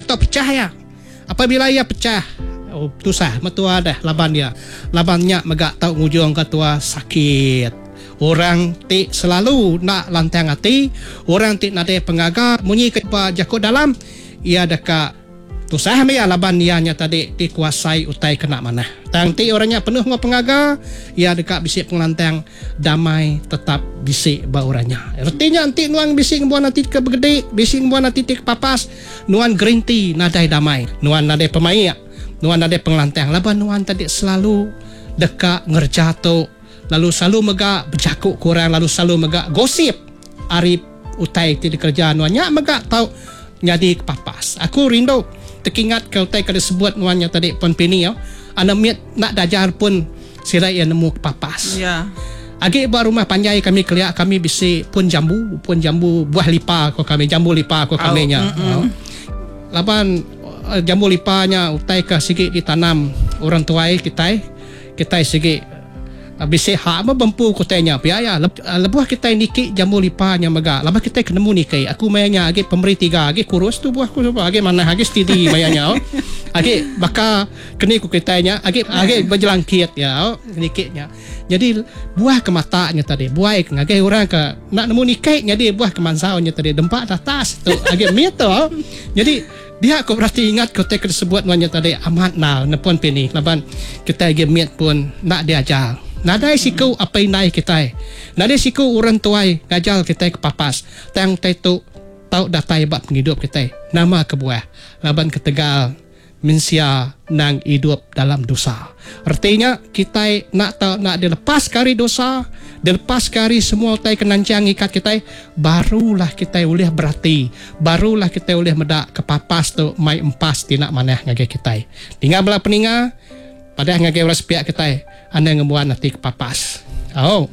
Tau pechah iya. Apabila iya pechah, oh, tusah meh tua deh laban iya. Laban nya mega tau ngujungka tua sakit. Orang ti selalu enda lantang ati, orang ti nadai pengaga munyi ke ba jaku dalam, iya deka tusah meh iya laban iya nya tadi dikuasai utai ke enda manah. Tang enti orang nya penuh enggau pengaga, iya deka bisi pengelantang damai tetap bisi ba orang nya. Reti nya enti nuan bisi ngembuan ati ke begedi, bisi ngembuan ati ti kepapas, nuan gerinti nadai damai, nuan nadai pemaik, nuan nadai pengelantang laban nuan tadi selalu deka ngereja tu. Lalu selalu mega bejaku ke orang lalu selalu mega gosip ari utai ti dikereja nuan nya mega tau nyadi kepapas. Aku rindu tekingatka utai ke disebut nuan nya tadi Puan Pini. Anak mit enda dajar pun sida iya nemu kepapas. Agi ba rumah panjai kami kelia kami bisi pun jambu, pun jambu buah lipa ko kami, jambu lipa ko kami nya. Laban jambu lipa nya utai ke sigi ditanam orang tuai kitai. Kitai sigi bisi hak meh bempu ke utai nya pia iya. Lebuh kitai niki jambu lipa nya mega laban kitai ke nemu niki. Aku maya nya agi pemeri tiga agi kurus tubuh aku suba agi manah agi steady maya nya. Agi baka keni ku kitai nya agi agi bejelangkit iya niki nya. Nyadi buah ke mata nya tadi buai ke ngagai orang ke enda nemu niki nyadi buah ke mansau nya tadi dempa datas tu agi mit tu. Nyadi. Dia ku berati ingat ke utai ke disebut nuan nya tadi amat endar nepun pini laban kitai agi mit pun enda diajar. Nadai siku apai indai kitai, nadai siku orang tuai ngajar kitai kepapas tang utai tu tau datai ba pengidup kitai. Nama kebuah? Laban ketegal mensia endang idup dalam dosa. Reti nya kitai enda tau enda dilepaska ari dosa, dilepaska ari semua utai ke nanchang ngikat kitai, barulah kitai ulih berati, barulah kitai ulih meda kepapas tu mai empas ti enda manah ngagai kitai. Ninga bala peninga, padah ngagai orang sepiak kitai, anang ngembuan ati kepapas. Au.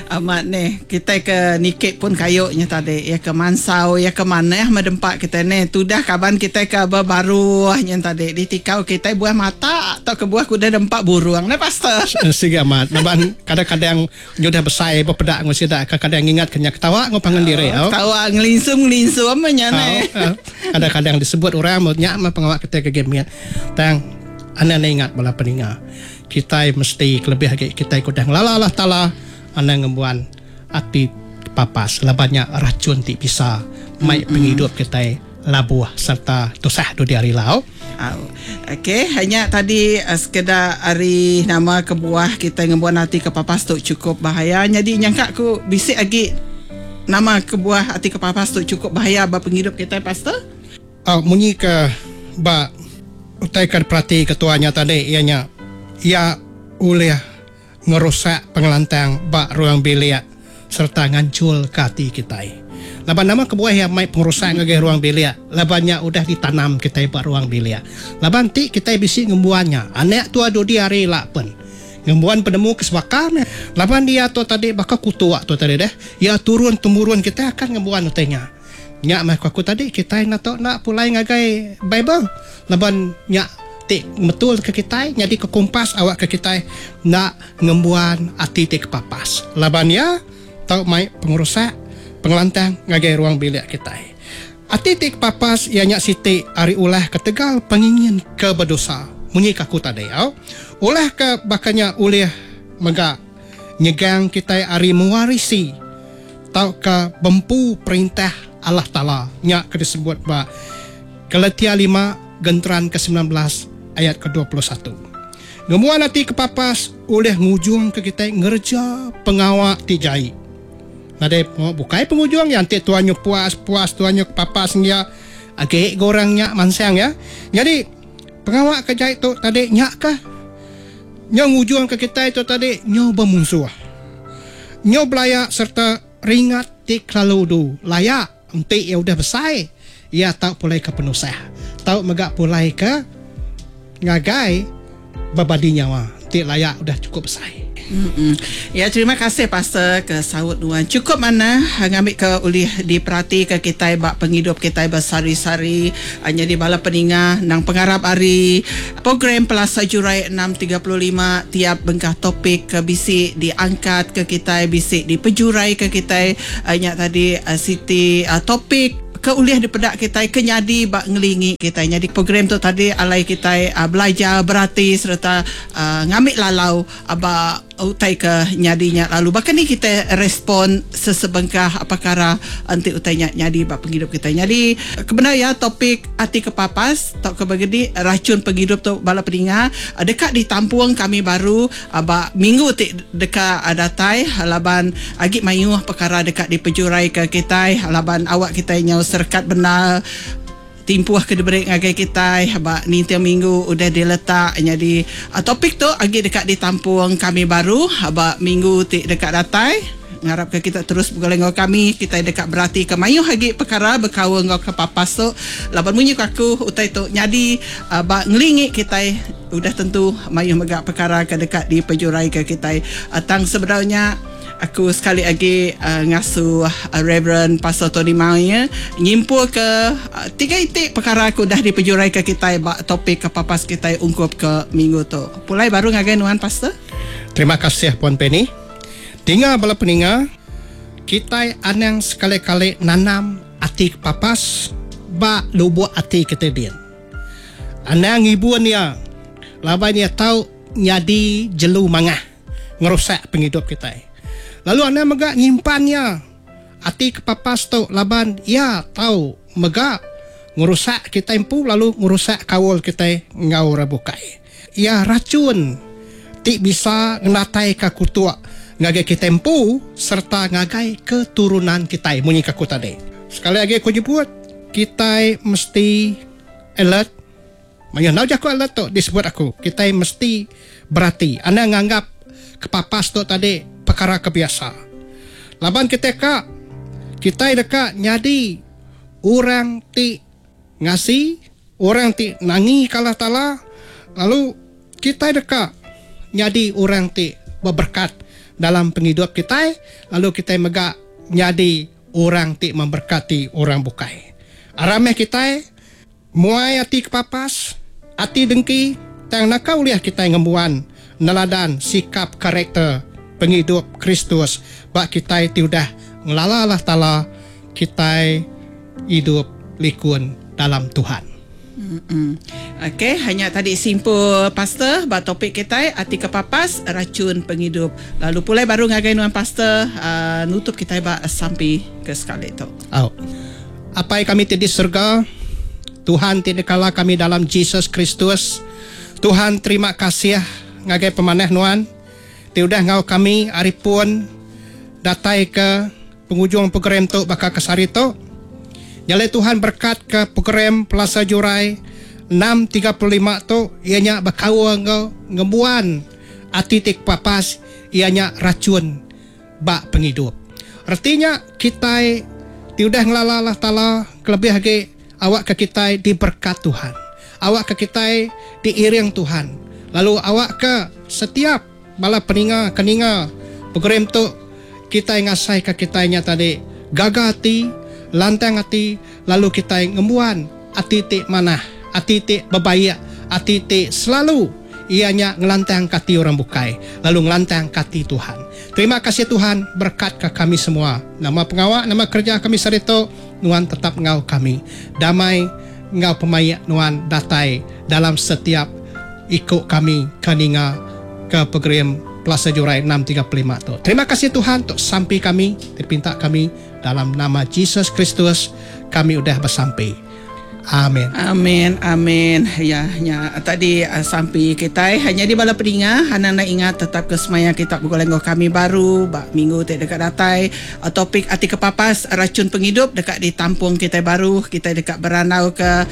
Amat neh, kitai ke niki pun kayu nya tadi, iya ke mansau, iya ke manah meh dempa kitai neh. Tudah kaban kitai ke bebaruh nya tadi ditikau kitai buah mata tauka buah ke udah dempa burung neh pastor. Sigi amat laban kadang-kadang nyudah besai bepeda enggau sida kadang-kadang ngingat ke nya ketawa enggau pangan diri au. Ketawa ngelinsum-ngelinsum meh nya neh. Kadang-kadang disebut orang nya meh pengawa kitai ke agi mit tang anang enda ingat bala peninga. Kitai mesti kelebih agi kitai ke udah ngelala Allah Taala anang ngembuan ati papas laban nya rachun ti bisa mai pengidup kitai labuh sereta tusah dudi hari ila. Au. Okey, nya tadi sekeda ari nama kebuah kitai ngembuan ati ke papas tu chukup bahaya. Nyadi nyangka ku bisi agi nama kebuah ati ke papas tu chukup bahaya ba pengidup kitai pastor? Au munyi ke ba utai ke diperatika tuan nya tadi iya nya iya ulih ngerusak pengelantang ba ruang bilik sereta nganchulka ati kitai. Laban nama kebuah iya mai pengerusak ngagai ruang bilik laban nya udah ditanam kitai ba ruang bilik. Laban enti kitai bisi ngembuan nya anak tua dudi hari ila pen ngembuan penemu ke sebaka meh. Laban iya tu tadi baka kutuk tu tadi deh iya turun temurun kitai akan ngembuan utai nya. Nya meh ku aku tadi kitai enda tau enda pulai ngagai Bible laban nya ti ngemetul ke kitai nyadi ke kompas awak ke kitai enda ngembuan ati ti kepapas laban iya tau mai pengerusak pengelantang ngagai ruang bilik kitai. Ati ti kepapas iya nya siti ari ulah ketegal pengingin ke bedosa munyi ke aku tadi au. Ulah ke baka nya ulih mega nyegang kitai ari mewarisi tauka bempu perintah Allah Taala nya ke disebut ba Galatia lima genteran ke 19 ayat ke 21. Ngembuan ati kepapas ulih ngujungka kitai ngereja pengawa ti jai. Nadai pengawa bukai pengujung iya enti tuan nyu puas puas tuan nyu kepapas ngia agi ga orang nya mansang iya. Nyadi pengawa ke jai tu tadi nya kah Nyau ngujungka kitai tu tadi nyau bemunsuh. Nyau belaya sereta ringat ti kelalu udu laya enti iya udah besai iya tau pulai ke penusah. Tau mega pulai ke ngagai bebadi nyawa enti laya udah chukup besai. Ya terima kasih pastor ke saut nuan chukup manah ngambika ulih diperatika kitai ba pengidup kitai besehari-sehari nyadi bala peninga endang pengarap ari Program Pelasa Jurai 6:35 tiap bengkah topik ke bisi diangkat ke kitai bisi dipejuraika kitai nya tadi siti topik. ke ulih dipeda kitai ke nyadi ba ngelingi kitai. Nyadi program tu tadi alai kitai belajar berati sereta ngambi lalau ba utai ke nyadi nya lalu baka ni kitai respon sesebengkah pekara enti utai nya nyadi ba pengidup kitai. Nyadi kebendar iya topik ati kepapas tauka begedi rachun pengidup tu bala peninga deka ditampung kami baru ba minggu ti deka datai laban agi mayuh pekara deka dipejuraika kitai laban awak kitai nyau serekat bendar. Timpuh ke diberi ngagai kitai ba ninting minggu udah diletak nyadi topik tu agi deka ditampung kami baru ba minggu ti deka datai. Ngarapka kita terus begulai enggau kami, kitai deka beratika mayuh agi pekara bekaul enggau kepapas tu laban munyi ku aku utai tu nyadi ba ngelingi kitai udah tentu mayuh mega pekara ke deka dipejuraika kitai. Tang sebedau nya. Aku sekali agi ngasuh Reverend Pastor Tony Maie nyimpulka tiga iti pekara ke udah dipejuraika kitai ba topik kepapas kitai ungkup ke minggu tu. Pulai baru ngagai nuan Pastor. Terima kasih Puan Penny. Dinga bala peninga, kitai anang sekali-kali nanam ati kepapas ba lubuk ati kitai din. Anang ngibun iya laban iya tau nyadi jelu mangah. Ngerusak pengidup kitai. Lalu anang mega nyimpan iya ati kepapas tu laban iya tau mega ngerusak kitai empu lalu ngerusak kaul kitai enggau orang bukai. Iya rachun ti bisa ngenataika kutuk ngagai kitai empu sereta ngagai keturunan kitai munyi ke aku tadi. Sekali agi aku nyebut, kitai mesti alert. Mayuh enggau jaku alert tu disebut aku, kitai mesti berati anang nganggap kepapas tu tadi pekara ke biasa. Laban kitai ka, kitai deka nyadi orang ti ngasi, orang ti nangika Allah Taala lalu kitai deka nyadi orang ti beberkat dalam pengidup kitai lalu kitai mega nyadi orang ti memberkati orang bukai. Aram meh kitai Muai ati kepapas, ati dengki, tang naka ulih kitai ngembuan neladan sikap karakter pengidup Kristus ba kitai ti udah ngelala Allah Taala, kitai idup likun dalam Tuhan. Ok, nya tadi simpul pastor ba topik kitai ati kepapas rachun pengidup. Lalu pulai baru ngagai nuan pastor nutup kitai ba sampi ke sekali tu. Au. Apai kami ti di serega, Tuhan ti dikala kami dalam Jesus Kristus, Tuhan terima kasih ngagai pemanah Nuan ti udah enggau kami ari pun datai ke pengujung program tu baka ke sehari tu. Nya alai Tuhan berekat ke program Pelasa Jurai 6:35 tu iya nya bekaul enggau ngembuan ati ti kepapas iya nya rachun ba pengidup. Reti nya kitai ti udah ngelala Allah Taala kelebih agi awakka kitai diberekat Tuhan. Awakka kitai diiring Tuhan lalu awakka setiap bala peninga ke ninga program tu kitai ngasaika kitai nya tadi gaga ati, lantang ati lalu kitai ngembuan ati ti manah, ati ti bebaik, ati ti selalu iya nya ngelantangka ati orang bukai lalu ngelantangka ati Tuhan. Terima kasih Tuhan berekat ka kami semua. Nama pengawa nama kereja kami saritu nuan tetap enggau kami. Damai enggau pemaik nuan datai dalam setiap iku kami ke ninga ke program Plaza Jurai 6:35 tu. Terima kasih Tuhan tu sampi kami ti dipinta kami dalam nama Jesus Kristus kami udah besampi. Amin. Amin amin ya nya tadi sampi kitai nyadi bala peninga anang enda ingat tetap ke semaya kita begulai enggau kami baru ba minggu ti deka datai topik ati kepapas rachun pengidup deka ditampung kitai baru kitai deka berandau ke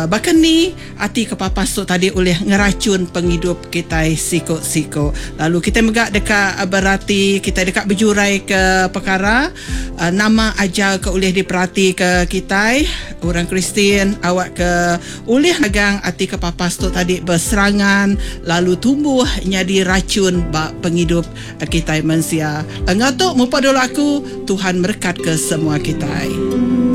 baka ni ati kepapas tu tadi ulih ngerachun pengidup kitai siku-siku lalu kitai mega deka berati kitai deka bejurai ke pekara Nama ajar ke ulih diperatika kitai orang Kristian awakka ulih nagang ati kepapas tu tadi beserangan lalu tumbuh nyadi rachun ba pengidup kitai mensia. Enggau tu mupa dulu aku, Tuhan merekatka semua kitai.